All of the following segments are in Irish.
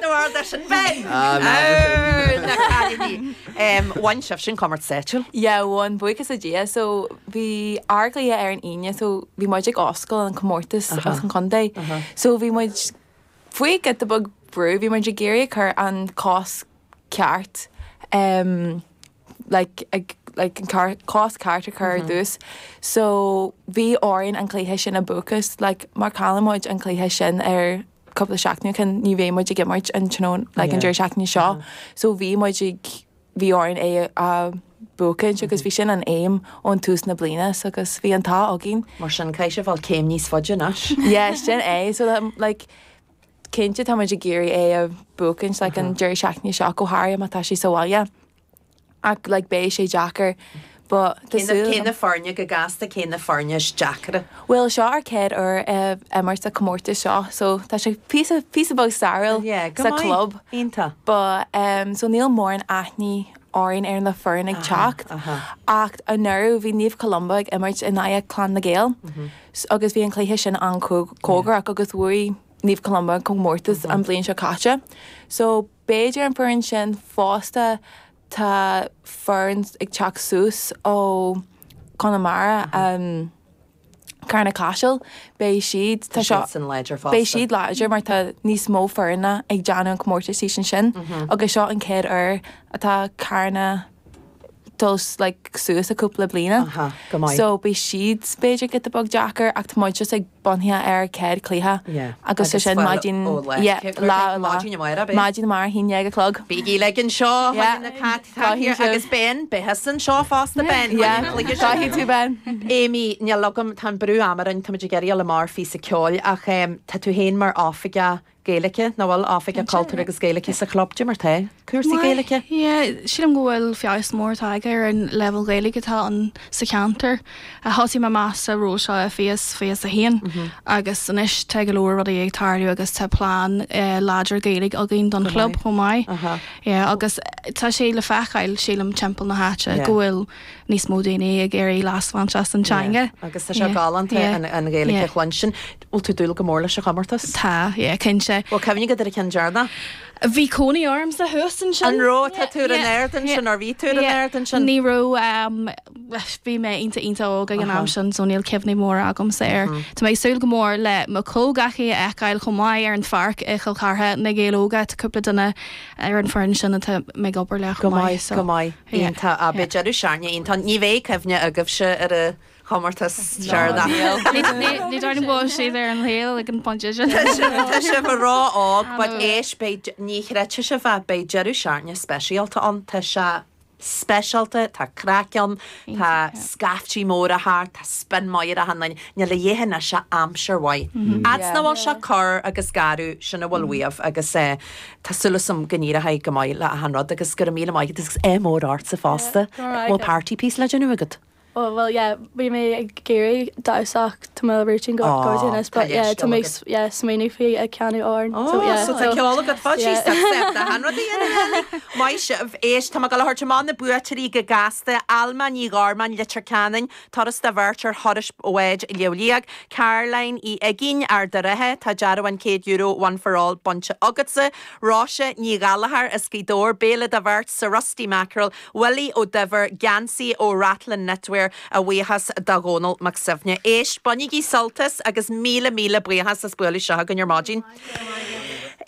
Bhfuil sin Ben! Na cailíní. Bhain sibhse an comórtas áitiúil? Yeah, bhain, buíochas le Dia. So bhí ár gcluiche ar an Aoine so bhí muid ag oscailt an comórtas as an chontae. So bhí muid faoi giota beag brú, bhí muid ag iarraidh cur an cos ceart um, like, ag, like, an car, cos ceart a chur ar dtús. So bhí orainn an cluiche sin a bhuachan, like, má chailleann muid an cluiche sin ar cúpla seachtain ó shin, ní bheidh muid ag imirt an tráthnóna, like, an deireadh seachtaine seo. So bhí muid ag, bhí orainn é a bhuachaint agus bhí sin an aidhm ón tús na bliana so agus bhí an t-ádh againn. Mar sin, caithfidh sibh dul céim níos faide anois. Yeah, sin é. So like, cinnte tá muid ag iarraidh é a bhuachaint like an deireadh seachtaine seo go háirithe má tá sé sa bhaile. Ach like beidh sé deacair but tá súil Cé na foirne go gasta, cé na foirne is deacra? Bhuel seo ár chéad uair ag imirt sa chomórtas seo so tá sé píosa píosa beag stairiúil Yeah, go sa maith. chlub. Iontach. But um so níl mórán aithne orainn ar na foirne ag teacht ach anuraidh bhí Naomh Columba ag imirt in aghaidh Clann na Gael agus bhí an cluiche sin an-chóngarach agus bhuaigh Naomh Columba an comórtas an bhliain seo caite. So b'fhéidir an foireann sin fosta tá foireann ag teacht suas ó Chonamara, um, Carna Caiseal, beidh siad, tá seo, Beidh siad láidir fosta. Beidh siad láidir mar tá níos mó foirne ag déanamh an comórtas thíos ansin agus seo an chéad uair atá Carna dul like suas i cúpla bliana. Aha, go maith. So beidh siad b'fhéidir giota beag deacair ach tá muid just ag bunaithe ar chéad cluiche Yeah. agus Agus sin fáil maidin ó lá. yeah, Cé- lá lá. Maidin amárach, beidh? Maidin amárach, 11 a chlog. Bígí uilig anseo, Yeah. na cat Caithfidh sibh. Agus Ben, beidh anseo fosta Ben. Yeah, caithfidh tú Ben. Amy, níl agam, tá an brú ama orainn, táimid ag iarraidh dul amach ar phíosa ceoil ach tá tú féin mar oifigeach Gaeilge, nach bhfuil oifigeach cultúir agus Gaeilge sa chlub, cad é mar tá cúrsaí Gaeilge? Yeah, sílim go bhfuil feabhas mór tagtha ar an leibhéal Gaeilge atá ann sa cheantar. Thosaigh mé amach sa ról seo i 2021 agus anois tá go leor rudaí ag tarlú agus tá plean láidir Gaeilge againn don chlub chomh maith. Yeah, agus tá sé le feiceáil, sílim, timpeall na háite go bhfuil níos mó daoine ag iarraidh leas a bhaint as an teanga. Agus tá sé galánta an Ghaeilge a chluinstin. Bhfuil tú ag dúil go mór leis an chomórtas? Tá, yeah, cinnte. Bhfuil cuimhne agat ar an cheann deireanach? Bhí cónaí ormsa thuas ansin. An raibh? Tá tú ar an ard ansin, or bhí tú ar an ard ansin? Ní raibh, bhí mé iontach iontach óg ag an am sin so níl cuimhní móra agamsa air. Tá mé ag súil go mór le mo chomhghleacaithe a fheiceáil chomh maith ar an pháirc i Chill Chartha, Na Gaeil Óga, tá cúpla duine ar an foireann sin atá mé ag obair leo Go chomh maith maith, so go maith. yeah. Iontach. Ah, beidh deireadh seachtaine iontach. Ní bheidh cuimhne agaibhse ar an chomórtas deireanach. Ní dóigh liom go bhfuil siad ar an saol ag an bpointe sin. Tá sibh ró-óg, but éist, beidh, ní chreidfidh sibh é, beidh deireadh seachtaine speisialta ann. Tá sé speisialta, tá craic ann, tá scaiftí móra thart, tá spin maith ar achan duine, níl a dhath anois ach aimsir mhaith. Fhad 's nach bhfuil sé corr agus garbh, sin a bhfuil uaibh agus tá súil agam go n-éireoidh go maith le achan rud agus go raibh míle maith agat agus ádh mór ortsa fosta. Bhfuil party piece le déanamh agat? Oh well yeah bhí mé ag iarraidh damhsa ach tá mo routine go Oh, go anois tá but yeah leithscéal tá mé agat. yeah smaoineamh faoi ag ceannach amhrán Oh, so yeah so tá ceol agat fad yeah. síos tá step de han rudaí in Ellie. Maith sibh. Éist, tá mé ag dul a thabhairt amach na buaiteoirí go gasta, Alma Ní Ghormáin, Leitir Ceanainn, turas do bheirt ar thuras bháid Shliabh Liag, Caroline Uí Uiginn, Ard a' Rátha, tá dearbhán €100 One for All bainte agatsa, Róise Ní Ghallchóir as Gaoth Dobhair, béile do bheirt sa Rusty Mackerel, Willie Ó Duibhir, geansaí ó Rathlin Knitwear, a bhuíochas do Dhónal Mac Suibhne. Éist, bainigí sult as agus míle míle buíochas as bualadh isteach chugainn ar maidin.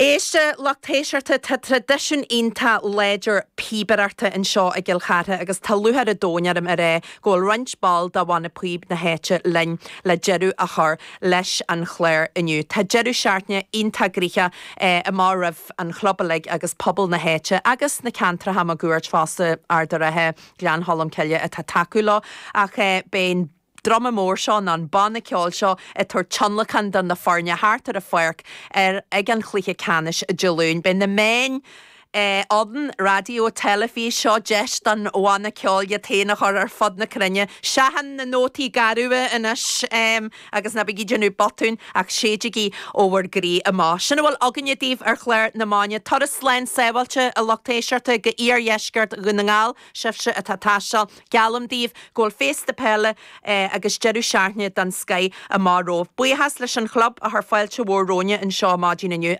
Éist, a lucht éisteachta, tá traidisiún iontach láidir píobaireachta anseo i gCill Chartha agus tá lúcháir an domhain orm a rá go bhfuil roinnt ball de Bhanna Píob na háite linn le deireadh a chur leis an chlár inniu. Tá deireadh seachtaine iontach gnoitheach amach roimh an chlub uilig agus pobal na háite agus na ceantracha máguaird fosta, Ard a' Rátha, Gleann Cholm Cille atá ag tacú leo ach beidh an druma mór seo nó an banna ceoil seo ag tabhairt tionlacan do na foirne thart ar an pháirc ar ag an chluiche ceannais Dé Luain. Beidh na meáin ann, raidió, teilifís, seo deis don bhanna ceoil iad féin a chur ar fud na cruinne. Seachain na nótaí garbha anois agus ná bígí ag déanamh botúin ach séidigí ó bhur gcroí amach. Sin a bhfuil againne daoibh ar chlár na maidine. Turas slán sábháilte a lucht éisteachta go iardheisceart Dhún na nGall, sibhse atá ag taisteal. Geallaim daoibh go bhfuil féasta peile agus deireadh seachtaine den scoith amach romhaibh. Buíochas leis an chlub a chuir fáilte mhór romhainne anseo maidin inniu.